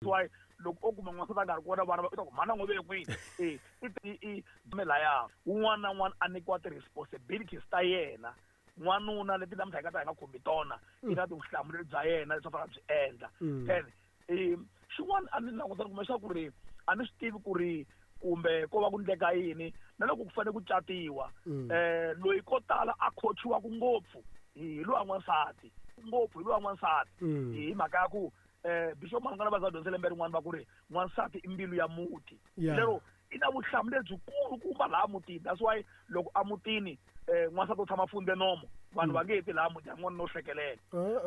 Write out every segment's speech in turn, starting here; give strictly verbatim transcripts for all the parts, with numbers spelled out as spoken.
Why loko o kuma n'wansati a nga ri kona vana va u ta ku mhana n'wi ve kwini e i i i laya wun'wana na wun'wana a nyikiwa ti-responsibilities ta yena n'wanuna leti namuntlha hi nga ta hi nga khumbi tona i na tivuhlamuleri bya yena leswi a fanele a byi endla then um xin'wana a ni languta ni kuma ku ri a ni swi tivi ku ri kumbe ko va ku ndleka yini na loko ku fanele ku catiwa um loyi ko tala a khochiwaku ngopfu hi lowa n'wansati ngopfu hi lowa n'wansati hi mhaka ya ku eh bishop Mangana va za dyondzise lembe rin'wana va ku ri n'wansati i mbilu ya muti lero i na vuhlamuleri byikulu kumba laha mutini. That's why loko emutini eh n'wansati u tshama fundze nomo vanhu va nge ti laha mutini n'wana no hlekelela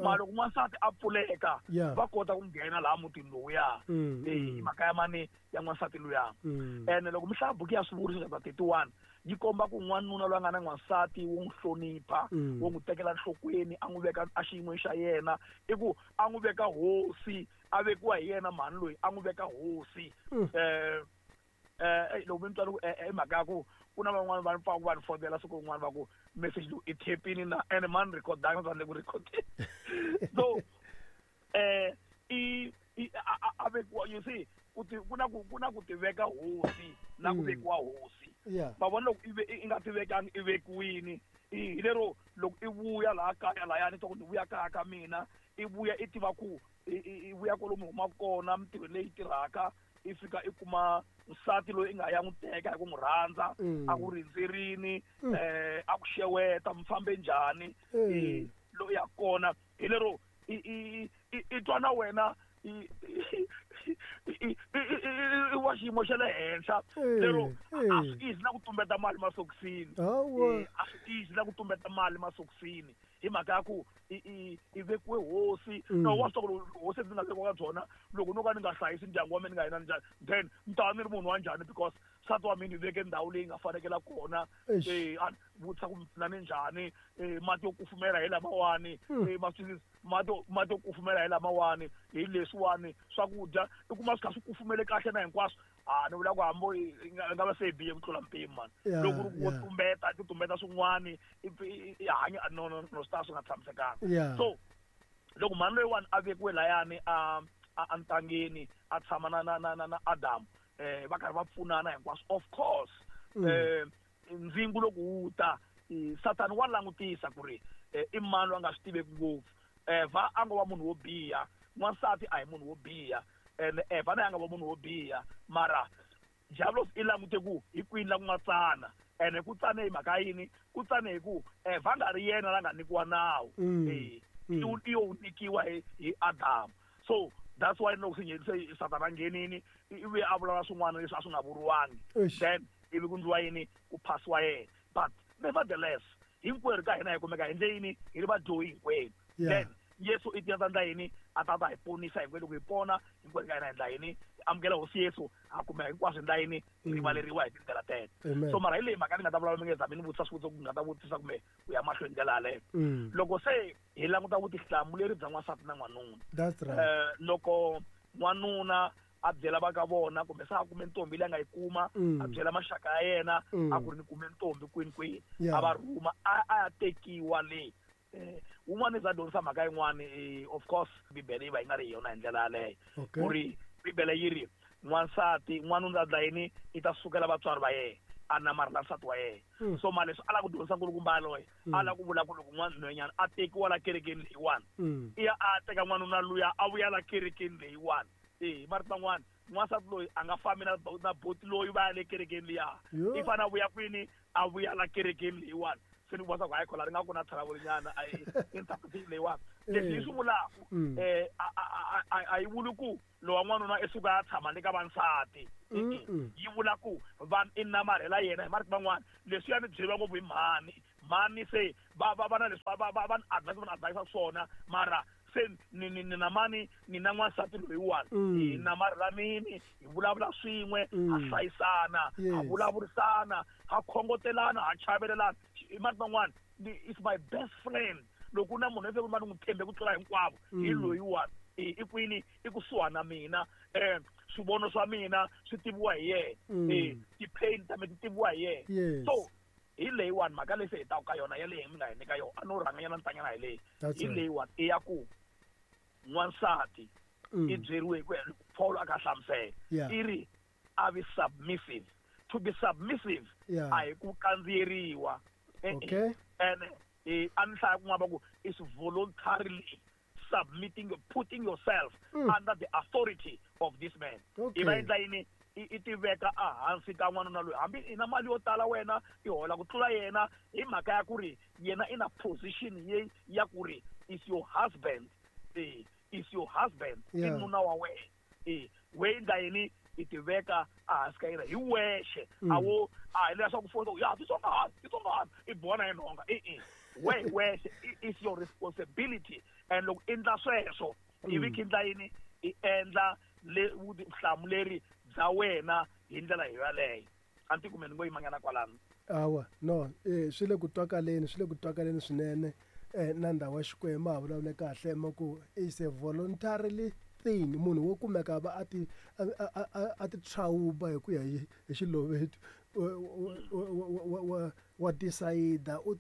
mara loko n'wansati a pfuleka va kota ku nghena laha mutini lowuya eh mhaka ya mani ya n'wansati luya. Ene loko mi hlaya buku ya Swivuriso chapter thirty-one yi komba ku n'wanuna loyi a nga na n'wansati wo n'wi hlonipha wo n'wi tekela nhlokweni a n'wi veka a xiyin'weni xa yena i ku a n'wi veka hosi a vekiwa hi yena mhani loyi a n'wi veka hosi eh eh loko mi twa loko i mhaka ya ku ku na van'wani va pfaka va ni fonela siku rin'wana va ku message lowu i thepini na ene mani rhekhodanga swa le ku rhekhodeni so eh i a vekiwa you see ku ti ku na ku ku na ku ti veka hosi na ku vekiwa hosi va vona loko i nga ti vekangi i vekiwini hi lero loko i vuya laha kaya lahayani twa ku ni vuya kaya ka mina i vuya i tiva ku i vuya kwalomu humaka kona mintirho leyi tirhaka i fika i kuma nsati loyi i nga ya n'wi teka hi ku n'wi rhandza a ku rindzerini eh a ku xeweta mi fambe njhani loyi ya kona hi lero i i i twa na wena i i wa xiyimo xa le henhla lero a swi easy na ku tumbeta mali masokisini a swi easy na ku tumbeta mali masokisini hi mhaka ya ku i i i vekiwe hosi no wa swi tiva ku hosi ndzi nga vekiwa ka byona loko no ka ni nga hlayisi ndyangu wa mina ni nga yena njhani then ni ta va ni ri munhu wa njhani because nsati wa mina hi veke ndhawu leyi nga fanekela kona eh a vutisa ku mi pfuna ni njhani mati yo kufumela hi lamawani ma swi mati mati yo kufumela hi lamawani hi leswiwani swakudya i kuma swi kha swi kufumele kahle na hinkwaswo a ni vula ku hambo i nga va se hi bihe ku tlula mpimo mani loko ri ku tumbeta ti tumbeta swin'wani i hanya no no no swi ta swi nga tshamisekanga so loko mhani loyiwani a vekiwe layani a a ntangeni a tshama na na na na na Adam eh va karhi va pfunana hinkwaswo of course eh ndzingo loko wu ta Satani wa langutisa ku ri i mani loyi a nga swi tiveki ngopfu Eva a ngo va munhu wo biha n'wansati a hi munhu wo biha ene Eva na a nga va munhu wo biha mara Diablos i langute ku hi kwini la ku nga tsana ene ku tsane hi mhaka yini ku tsane hi ku Eva nga ri yena la nga nyikiwa nawu eh i yo nyikiwa hi hi Adam so that's why loko se se Satana nghenini i vuye a vulavula swin'wana leswi a swi nga vuriwangi then ivi ku ndliwa yini ku phasiwa yena but nevertheless hinkwerhu ka hina hi kumeka hi ndle yini hi ri vadyohi hinkwenu then Yesu i tiya ndla yini a ta ta hi ponisa hinkwenu loko hi pona hinkwerhu ka hina hi ndla yini hi amukela hosi Yesu ha kumeka hinkwaswo hi ndla yini hi rivaleriwa hi tindlela teto so mara hi leyi mhaka ni nga ta vulavula mi nge zami ni vutisa swivutiso ku nga ta vutisa kumbe ku ya mahlweni ndlela yaleyo loko se hi languta vutihlamuleri bya n'wansati na n'wanuna eh loko n'wanuna a byela va ka vona kumbe se a kume ntombi leyi a nga yi kuma a byela maxaka ya yena a ku ri ni kume ntombi kwini kwini a va rhuma a a ya tekiwa le eh wun'wana za dyondzisa mhaka yin'wani of course Bibele yi va yi nga ri yona hi ndlela yaleyo ku ri Bibele yi ri n'wansati n'wanuna a dla yini i ta sukela vatswari va yena a namarhela nsati wa yena so mara leswi a lava ku dyondzisa nkulukumba yaloye a lava ku vula ku loko n'wanhwanyana a tekiwa la kerekeni leyiwani i ya a teka n'wanuna luya a vuya la kerekeni leyiwani eh marito man'wana n'wansati loyi a nga fambi na na boti loyi va ya le kerekeni liya i fanele a vuya kwini a vuya la kerekeni leyiwani se ni vona ku hayi khola ri nga ku na thalavurinyana interpretation leyiwani leswi yi swi vulaka um a yi vuli ku lowa n'wanuna i suka a tshama ni ka vansati yi vula ku va i namarhela yena hi marito man'wana leswiya ni byeriwa ngopfu hi mhani mhani se va va va na leswi va va va va ni advise va ni advise swona mara se ni ni ni na mani ni na n'wansati loyiwani hi namarhelanini hi vulavula swin'we ha hlayisana ha vulavurisana ha khongotelana ha chavelelana hi marito man'wana is my best friend loko na munhu loyi va ni n'wi tshembe ku tlula hinkwavo hi loyiwani i kwini i kusuhana na mina eh swivono swa mina swi tiviwa hi yena eh ti-pain ta mina ti tiviwa hi yena so hi leyiwani mhaka leyi se hi taka ka yona yaleyi mi nga hi nyika yona a no rhanganyana ntanyana hi leyi hi leyiwani i ya ku n'wansati i byeriwe hi ku Paul a ka hlamusela Yeah. i ri a vi submissive. To be submissive Yeah. a hi ku kandziyeriwa. Eh, eh. Okay. And eh, a ni hlaya kun'wana va ku is voluntarily submitting, putting yourself Mm. under the authority of this man. Okay. I va endla yini? I i tiveka ehansi ka n'wanuna loyi, hambi i na mali yo tala wena i hola ku tlula yena, hi mhaka ya ku ri yena i na position ye ya ku ri is your husband, eh, is your husband, i Yeah. nuna wa wena. Eh, we endla yini? I tiveka ehansi ka yena hi wexe. Mm. A wo a hi leswaku foni ya titsongahati titsongahati i bona hi nhonga, e-e, we hi wexe i- is your responsibility. And loko endla sweswo ivi Mm. khi endla yini? I endla le vutihlamuleri bya wena hi ndlela hi yaleyo. A ni ti kumbe ni ngo yimanyana kwalano. Awa, no, eh swi le ku twakaleni, swi le ku twakaleni swinene. Eh na ndhawu ya Xikwembu ha vulavule kahle ma ku is a voluntarily thing. Munhu wo kumeka va a ti a a a, a ti tshawuba hi ku ya hi hi xilovetu wa wa wa decide u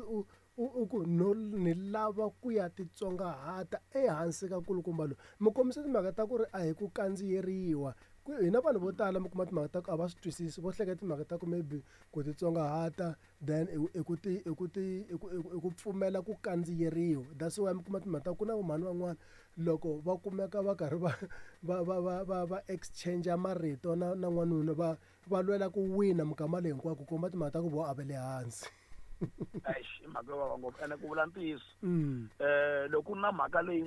u u ku no ni lava ku ya titsongahata ehansi ka nkulukumba loyi. Mi kombisa timhaka ta ku ri a hi ku kandziyeriwa. Hina vanhu vo tala mi kuma timhaka ta ku a va swi twisisi, vo hleketa timhaka ta ku maybe ku titsongahata then i ku ti i ku ti i ku i ku pfumela ku kandziyeriwa. That's why mi kuma timhaka ta ku na vomhani van'wana loko va kumeka va karhi va va va va va va exchange marito na na n'wanuna, va va lwela ku wina minkama leyi hinkwayo, ku komba timhaka ta ku vo a va le hansi. Eish, i mhaka yo vava ngopfu, ene ku vula ntiyiso Mm. eh loko ku na mhaka leyi